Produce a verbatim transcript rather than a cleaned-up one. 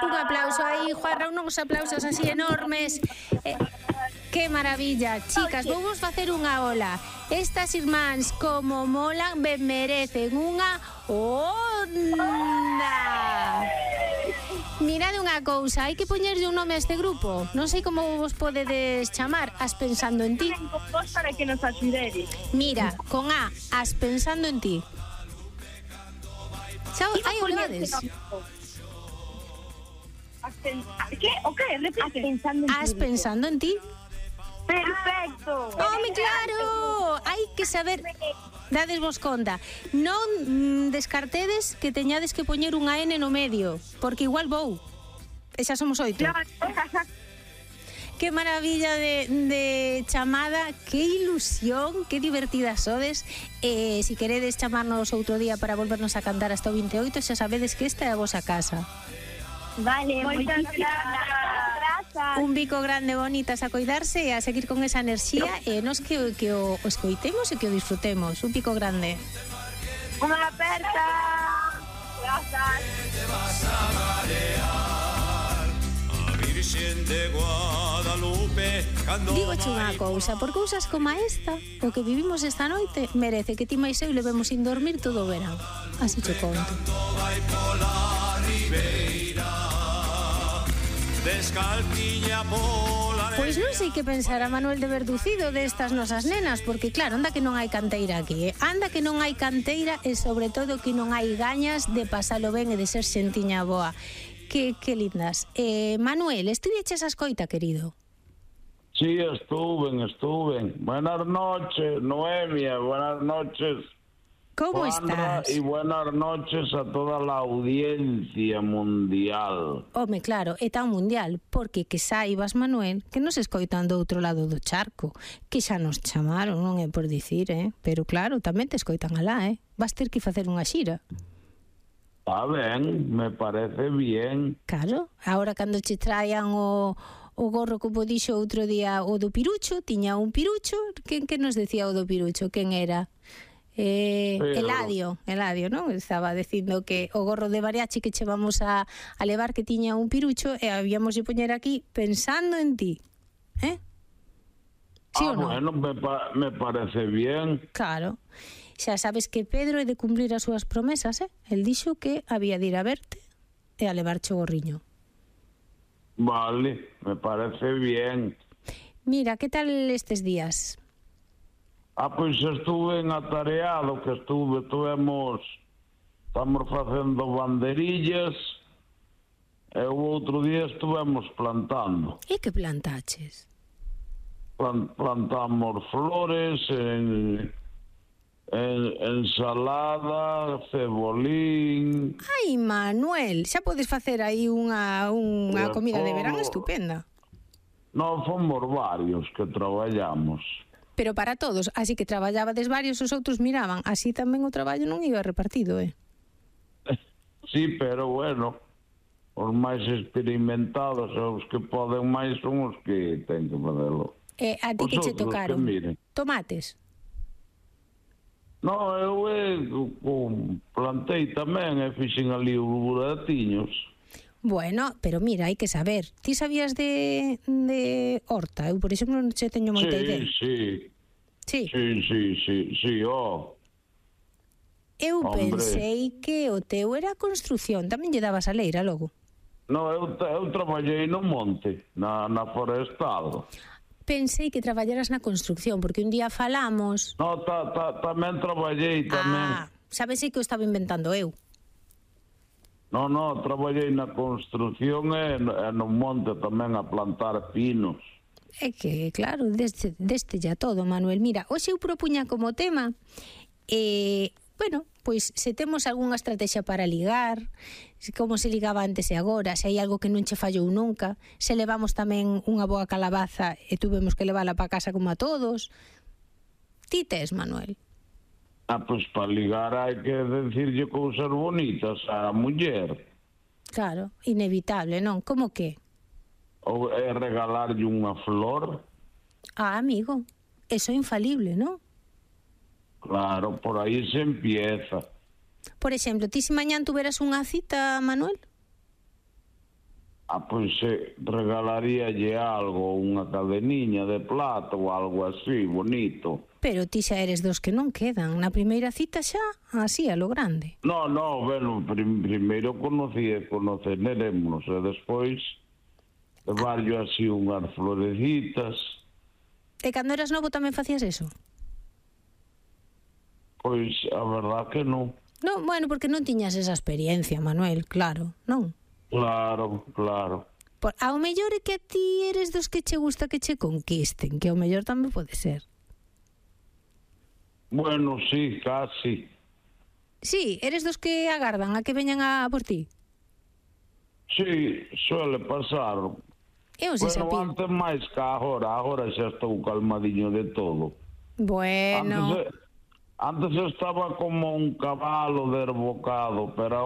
Un aplauso aí, Juan Raúl, uns aplausos así enormes. Eh, que maravilla. Chicas, vou vos facer unha ola. Estas irmáns, como molan, ben merecen unha onda. Mirade unha cousa, hai que poñerlle un nome a este grupo. Non sei como vos podedes chamar. As pensando en ti. Para que nos axudedes. Mira, con A, as pensando en ti. Xa, aí o levades. Que? O que? Repite. As pensando en ti. Perfecto. Home, claro. Hai que saber. Dades vos conta. Non mm, descartedes que teñades que poñer unha N no medio, porque igual vou. E xa somos oito. Claro. Que maravilla de, de chamada, que ilusión, que divertidas sodes. E se si queredes chamarnos outro día para volvernos a cantar hasta o vinte e oito, xa sabedes que esta é a vosa casa. Vale, moitas grazas. Un bico grande, bonitas, a coidarse e a seguir con esa enerxía e nos que, que o, o escoitemos e que o disfrutemos. Un pico grande. Unha aperta. Grazas. Digoche unha cousa, por cousas como esta, o que vivimos esta noite merece que ti máis eu levemos sin dormir todo o verán. Así che conto. Pois non sei que pensar a Manuel de Verducido destas nosas nenas, porque claro, anda que non hai canteira aquí, eh? Anda que non hai canteira e sobre todo que non hai gañas de pasalo ben e de ser xentiña boa. Que, que lindas. Eh, Manuel, estuveches a escoita, querido? Sí, estuve, estuve. Buenas noches, Noemia, buenas noches. ¿Cómo Juanra, estás? Y buenas noches a toda la audiencia mundial. Home, claro, é tan mundial, porque que saibas, Manuel, que nos escoitan do outro lado do charco, que xa nos chamaron, non é por dicir, eh? Pero claro, tamén te escoitan alá, eh? Vas ter que facer unha xira. Está ben, me parece bien. Claro, agora cando che traian o, o gorro, como dixo outro día, o do Pirucho, tiña un Pirucho, quen que nos decía o do Pirucho? Quen era? Eh, Pero... Eladio, Eladio, non? Estaba dicindo que o gorro de mariachi que che vamos a, a levar que tiña un Pirucho e habíamos de poñer aquí pensando en ti. Eh? Sí ah, ou non? Bueno, me, pa me parece bien. Claro. Xa sabes que Pedro é de cumplir as súas promesas, eh? El dixo que había de ir a verte e a levarche o gorriño. Vale, me parece bien. Mira, que tal estes días? Ah, pois estuve en atareado, que estuve, tuvemos, estamos facendo banderillas, e o outro día estuvemos plantando. E que plantaches? Plant, plantamos flores, en, en, ensalada, cebolín... Ai, Manuel, xa podes facer aí unha, unha comida de verán estupenda. Non, fomos varios que traballamos. Pero para todos, así que traballabades varios, os outros miraban. Así tamén o traballo non iba repartido, eh? Sí, pero bueno, os máis experimentados, os que poden máis son os que ten que facelo. E a ti Os que che outros tocaron? que miren. Tomates? Non, eu eh, plantei tamén e fixen ali os buratiños. Bueno, pero mira, hai que saber. Ti sabías de, de horta? Eu, por exemplo, non che teño moita sí, idea. Sí, sí. Sí, sí, sí, sí, oh. Eu Hombre. pensei que o teu era a construción. Tamén lle dabas a leira logo. Non, eu, eu traballei no monte, na, na forestado. Pensei que traballaras na construción, porque un día falamos... No, ta, ta, tamén traballei, tamén. Ah, sabes que o estaba inventando eu. Non, non, traballei na construción e no, e no monte tamén a plantar pinos. É que, claro, deste, deste ya todo, Manuel. Mira, hoxe eu propuña como tema, eh, bueno, pois se temos algunha estrategia para ligar, como se ligaba antes e agora, se hai algo que non che fallou nunca, se levamos tamén unha boa calabaza e tuvemos que levala para casa como a todos. Ti tes, Manuel? Ah, pois para ligar hai que decirlle cousas bonitas á muller. Claro, inevitable, non? Como que? Ou é regalarlle unha flor. Ah, amigo, eso é infalible, non? Claro, por aí se empieza. Por exemplo, ti se mañán tuveras unha cita, Manuel? Ah, pois eh, regalaríalle algo, unha cadeniña de plata ou algo así, bonito. Pero ti xa eres dos que non quedan. Na primeira cita xa, así, a lo grande. No, no, bueno, prim, primeiro conocí, conoceremos e despois levarlle así unhas florecitas. E cando eras novo tamén facías eso? Pois a verdad que non. Non, bueno, porque non tiñas esa experiencia, Manuel, claro, non? Claro, claro. Por, ao mellor é que a ti eres dos que che gusta que che conquisten, que ao mellor tamén pode ser. Bueno, sí, casi. Sí, eres dos que agardan a que veñan a por ti. Sí, suele pasar. Eu sei Bueno, sapín. antes máis que agora, agora xa estou calmadiño de todo. Bueno... Antes, antes estaba como un cabalo derbocado, pero